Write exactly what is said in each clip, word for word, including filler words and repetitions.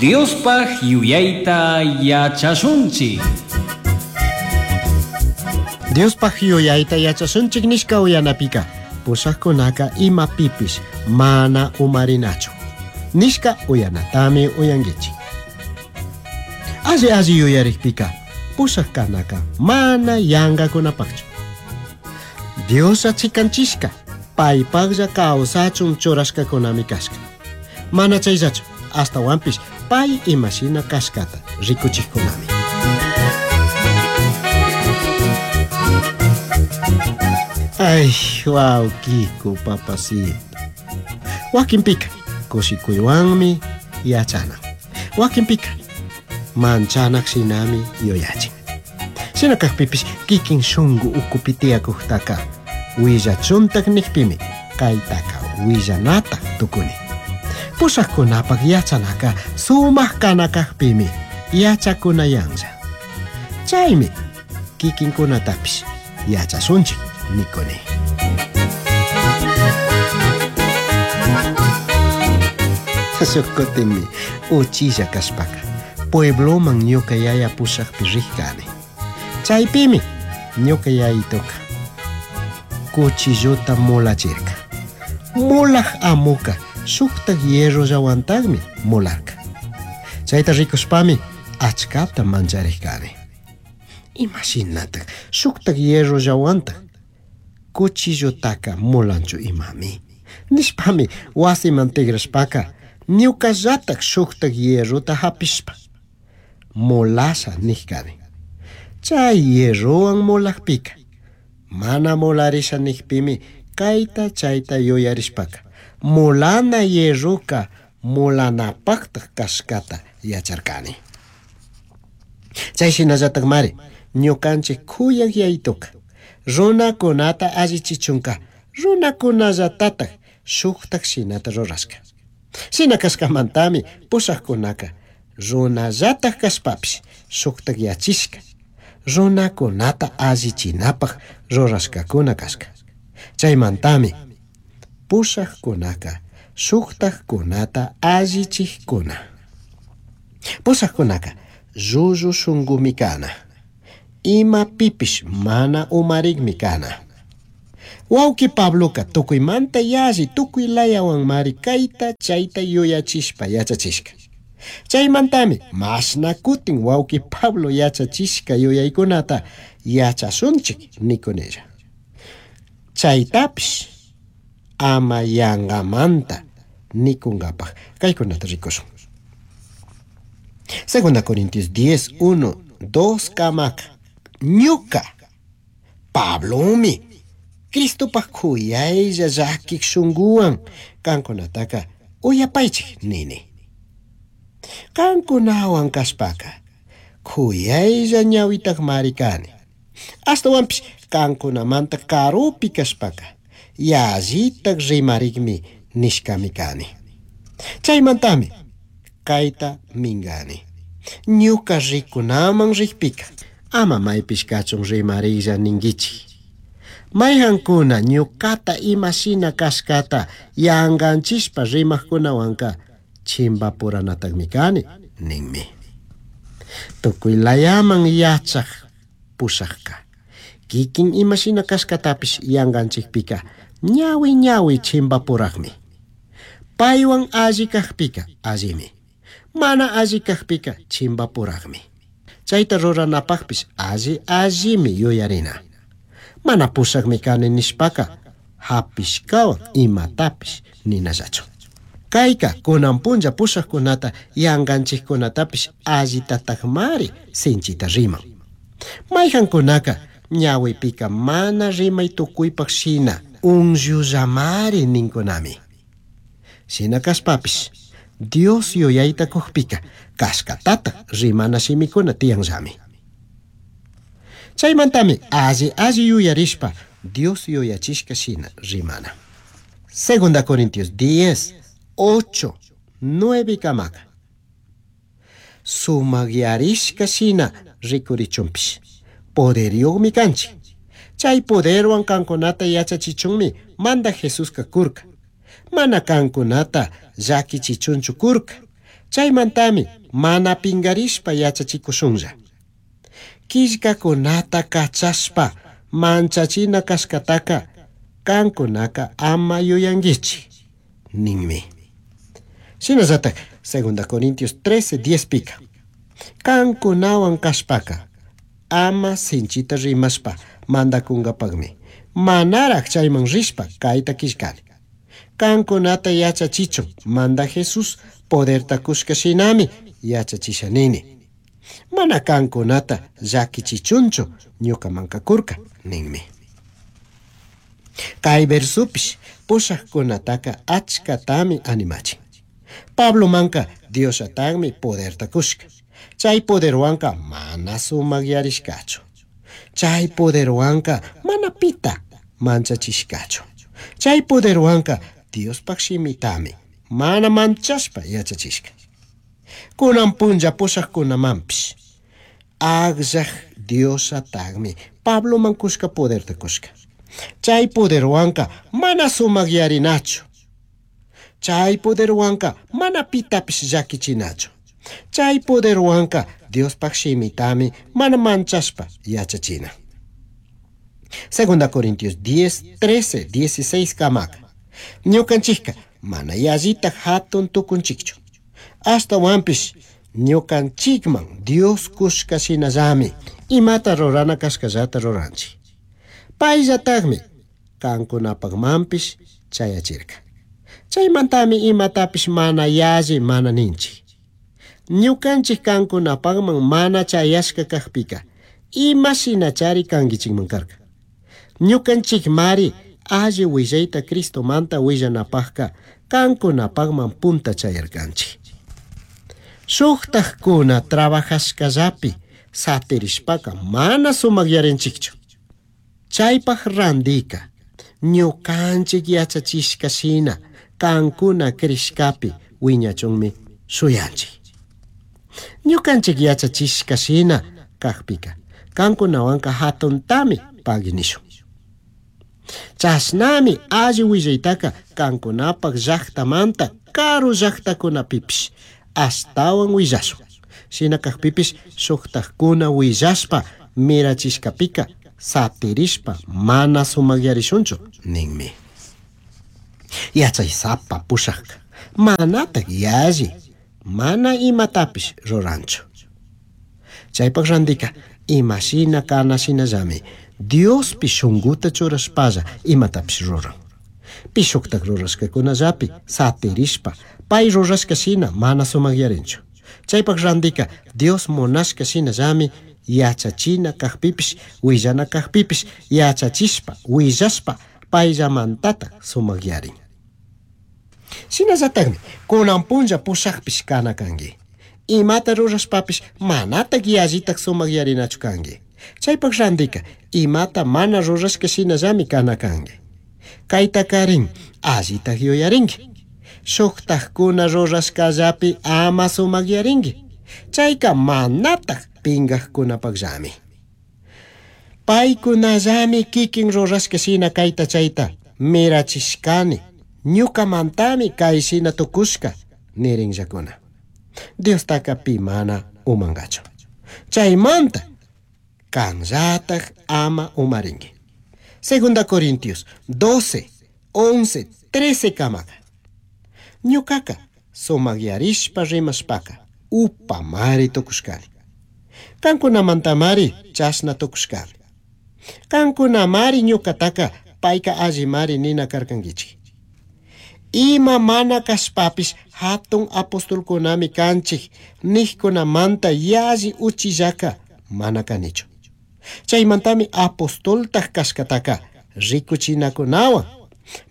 Diospaj yuyayta yachashunchik. Diospaj yuyayta yachashunchik nishka uyanapika pushajkunaka imapipish mana umarinachu nishka uyanatami uyankichik. Alli alli yuyarikpika pushaj kanaka mana yankakunapakchu. Dios achikanchishka paypaklla kawsachun churashkakunami kashka. Mana chayllachu ashtawanpish pay imashina kashkata rikuchikkunami. Ay, wawkiku papacito. Wakinpika kushikuywanmi yachana. Wakinpika manchanak shinami yuyachin. Shina kakpipish kikin shunku ukupi tiyakuktaka willachuntak nikpimi kaytaka willanatak tukuni. Pushakkunapak yachanaka sumak kana kakpimi yachakunayanlla. Chaymi kikinkunatapish yachashunchik nikuni. Shuk kutinmi uchilla kashpaka puebloman ñuka yaya pushakpi rikani. Chaypimi ñuka yayituka cuchillota mulachirka. Mulaj amuka shuktak hierrollawantakmi mularka. Chayta rikushpami achkata mancharikani. Imashinatak shuktak hierrollawantak cuchillotaka mulanchu imami. Nishpami wasiman tigrashpaka ñukallatak shuktak hierrota hapishpa mulasha nijkani. Chay hierrowan mulakpika mana mularisha nikpimi kayta chayta yuyarishpaka mulana hierroka mulanapaktak kashkata yacharkani. Chay shinallatakmari ñukanchik kuyak yayituka runakunata allichichunka runakunallatatak shuktak shinata rurashka. Shina kashkamantami pushakkunaka runallatak kashpapish shuktak yachishka runakunata allichinapak rurashkakuna kashka. Chaymantami pushakkunaka shuktakkunata allichikkuna. Pushakkunaka llullu shunkumi kana. Imapipish mana umarikmi kana. Wawki Pabloka tukuymanta yalli tukuy layawanmari kayta chayta yuyachishpa yachachishka. Chaymantami mashna kutin wawki Pablo yachachishka yuyaykunata yachashunchik nikunilla. Chaytapish ama yankamanta nikunkapak kaykunata rikushun. Segunda Corintios diez, uno, dos kamaka. Ñuka Pablomi Cristopaj kuyaylla llakik shunkuwan kankunataka uyapaychik nini. Kankunawan kashpaka kuyaylla ñawitakmari kani. Ashtawanpish kankunamanta karupi kashpaka yallitak rimarikmi nishkami kani. Chaymantami kayta minkani. Ñuka rikunaman rikpika ama maypish kachun rimarilla ninkichik. Mayhankuna ñukata imashina kashkata yankanchishpa rimakkunawanka chimpapuranatakmi kani ninmi. Tukuy layaman yachak pushakka kikin imashina kashkatapish yankanchikpika ñawi ñawi chimpapurakmi. Paywan alli kakpika allimi, mana alli kakpika chimpapurakmi. Chayta ruranapakpish alli allimi yuyarina. Mana pushakmi kani nishpaka hapishkawan imatapish ninallachu. Kayka kunan punlla pushakkunata yankanchikkunatapish allitatakmari sinchita riman. Mayhankunaka ñawipika mana rimay tukuypak shina unllullamari ninkunami. Shina kashpapish Dios yuyayta kukpika kashkatata rimana shimikuna tiyanllami. Chaymantami alli alli yuyarishpa Dios yuyachishka shina rimana. Segunda Corintios diez, ocho, nueve kamaka. Sumakyarishka shina rikurichunpish poderyuqmi kanchik. Chay poderwan kankunata yachachichunmi manda Jesuska kurka. Mana kankunata llakichichunchu kurka. Chaymantami mana pingarishpa yachachikushunlla. Quillcacunata cachashpa manchachina kashkataka kankunaka ama yuyanguichik ninmi. Shinallatak Segunda Corintios trece diez pika. Kankunawan kashpaka ama sinchita rimashpa mandakunkapakmi manaraj chayman rishpa kayta killkani. Kankunata yachachichun manda Jesús poderta kushka shinami yachachisha nini. Mana kankunata llakichichunchu ñukamanka kurka ninmi. Kay versupish pushaqkunataka achkatami animachin. Pablo manka Diosatagmi poderta kushka. Chay poderwanka mana sumakyarishkachu. Chay poderwanka mana pita manchachishkachu. Chay poderwanka Diospaq shimitami mana manchashpa yachachishka. Kunan punlla pushaqkunamanpish akllaq Diosatagmi Pabloman kushka poderta kushka. Chay poderwanka mana sumakyarinachu. Chay poderwanka mana pitapish llakichinachu. Chay poderwanka Diospaq shimitami mana manchashpa yachachina. Segunda Corintios diez, trece, dieciséis kamaka. Ñukanchikka mana yallita hatun tukunchikchu. Ashtawanpish ñukanchikman Dios kushka shinallami imata rurana kashkallata ruranchik. Payllatagmi kankunapakmanpish chayachirka. Chaymantami imatapish mana yalli mana ninchik. Ñukanchik kankunapakman mana chayashka kakpika ima shinachari kankichikman karka. Ñukanchik mari alli willayta Cristomanta willanapakka kankunapakman punta chayarkanchik. Shuktakkuna trabajashkallapi satirishpaka mana sumakyarinchikchu. Chaypaq randika ñukanchik yachachishka shina kankuna krishkapi wiñachunmi shuyanchik. Ñukanchik yachachishka shina kakpika kankunawanka hatuntami paginishun. Chashnami alli willaytaka kankunapak llaqtamanta karu llaqtakunapipish ashtawan willashun. Shina kakpipish shuktakkuna willashpa mirachishkapika satirishpa mana sumakyarishunchu ninmi. Yachaysapa pushakka manatak yalli mana imatapish ruranchu. Chaypak randika imashina kana shinallami Diospi shunkuta churashpalla imatapish ruran. Pi shuktak rurashkakunallapi satirishpa pay rurashka shina mana sumakyarinchu. Chaypak randika Dios munashka shinallami yachachina kakpipish willana kakpipish yachachishpa willashpa payllamantatak sumakyarin. Shinallatakmi kunan punlla pushakpish kana kanki. Imata rurashpapish manatak yallitak sumakyarinachu kanki. Chaypak randika imata mana rurashka shinallami kana kanki. Kaytakarin allitak yuyarinki. Shuktakkuna rurashkallapi ama sumakyarinki. Chayka manatak pinkakkunapakllami. Paykunallami kikin rurashka shina kayta chayta mirachishkani. Ñukamantami kay shina tukushka nirinllakuna. Diostaka pi mana umankachu. Chaymanta kanllatak ama umarinki. Segunda Corintios doce, once, trece kamaka. Ñukaka sumakyarishpa rimashpaka upamari tukushkani. Kankunamantamari chashna tukushkani. Kankunamari ñukataka payka allimari nina karkankichik. Ima mana kashpapish hatun apostolkunami kanchik nijkunamanta yalli uchillaka mana kanichu. Chaymantami apostoltaj kashkataka rikuchinakunawan,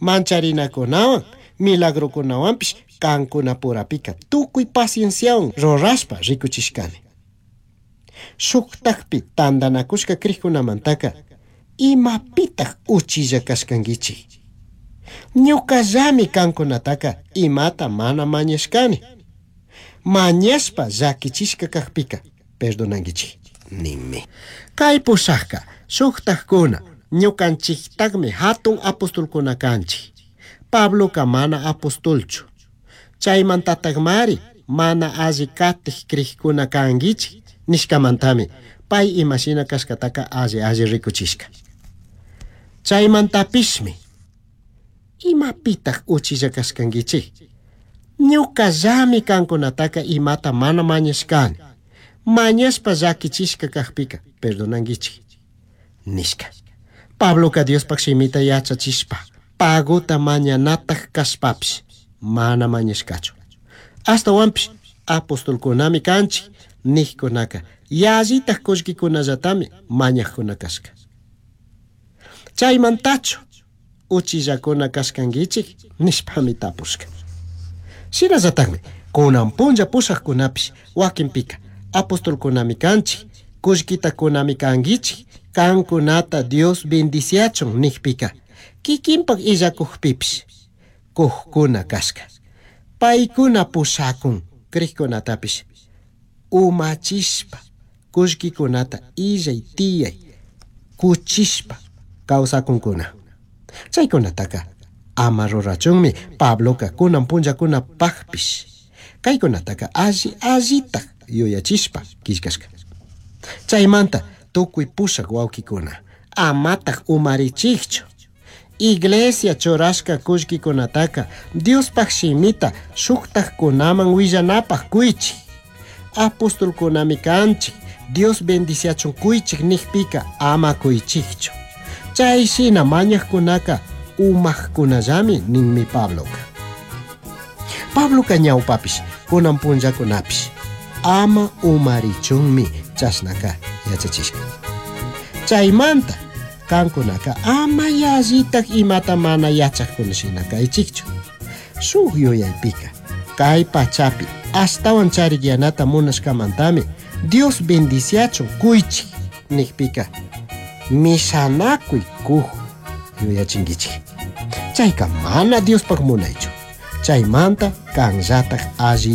mancharinakunawan, milagrokunawanpish kankunapurapika tukuy pacienciawan rurashpa rikuchishkani. Shuktakpi tantanakushka krikkunamantaka imapitaj uchilla kashkankichik. Ñukallami kankunataka imata mana mañashkani. Mañashpa llakichishka kakpika perdonankichik ninmi. Kay pushakka shuktakkuna ñukanchiktakmi hatun apostolkuna kanchik. Pabloka mana apostolchu. Chaymantatakmari mana alli katij crijcuna canguichij nishcamantami pai imashina cashcataca alli alli rikuchishka. Chaymantapishmi imapitaj uchilla kashkanguichij? Ñucallami kankunataka imata mana mañashkani. Mañashpa llakichishka kajpika perdonanguichij nishka. Pabloka Diospaj shimita yachachishpa pagota mañanataj kashpapish mana mañashkachu. Ashtawanpish apostolkunami kanchik nijkunaka yallitaj kullkikunallatami mañajkuna kashka. Chaymantachu uchillakuna kashkanguichik nishpami tapushka. Shinallatakmi kunan punlla pushajkunapish wakinpika apostolkunami kanchik kullkitakunami kanguichik kankunata Dios bendiciachun nijpika kikinpak illakujpipish kujkuna kashka. Paykuna pushakun crijkunatapish umachishpa kullkikunata illay tiyay kuchishpa kawsakunkuna. Chaykunataka ama rurachunmi Pabloka kunan punllakunapajpish kaykunataka alli allitaj yuyachishpa killkashka. Chaymanta tukuy pushak wawkikuna amataj umarichikchu. Iglesia churashka kullkikunataka Diospaj shimita shuktajkunaman willanapaj kuychik. Apostolkunami kanchik Dios bendiciachun kuychik nijpika ama kuychikchu. Chay shina mañajkunaka umajkunallami ninmi Pabloka. Pabloka ñawpapish kunan punllakunapish ama umarichunmi chashnaka yachachishka. Chaymanta kankunaka ama yallitaj imata mana yachajkuna shina kaychikchu. Shuk yuyaypika kay pachapi ashtawan charikyanata munashkamantami Dios bendiciachun kuychik nijpika mishanakuy kuj yuyachinkichik. Chayka mana Diospaj munaychu. Chaymanta kanllataj alli